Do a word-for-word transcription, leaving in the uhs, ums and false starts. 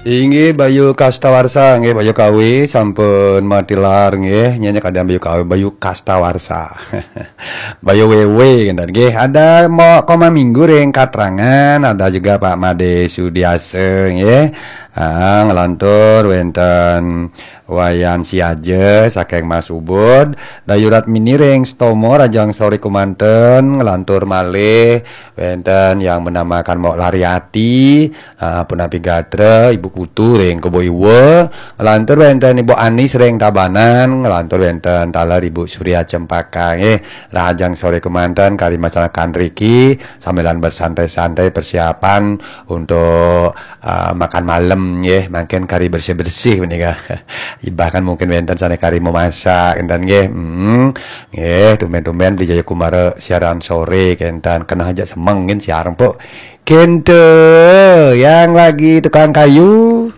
Inggih Bayu Kastawarsa, nggih Bayu Kawi sampun matilar nggih, nyanyi kadang Bayu Kawi, Bayu Kastawarsa. Bayu Wewe kan nggih. Ada mau koma minggu ring Katrangan, ada juga Pak Made Sudiasa nggih. Ah, ngelantur wenten Wayan Siaja saking Mas Ubud, Dayu Ratmini ring Stomo Rajang Sore Kumanten, ngelantur malih wenten yang menamakan Mok Lariati, ah, punapi gatra, Ibu Putu ring Kebo Iwa, ngelantur wenten Ibu Anis ring Tabanan, ngelantur wenten taler Ibu Surya Cempaka nggih. Rajang Sore Kumanten kari masyarakat riki, sambilan bersantai-santai persiapan untuk ah, makan malam nggih, mangkin kari bersih-bersih menika. Bahkan mungkin wenten sane kari memasak enten nggih. Hmm. Nggih, tumben-tumben Beli Jaya Kumara siaran sore kenten, kena aja semeng nggih siaran pok. Kente yang lagi tukang kayu.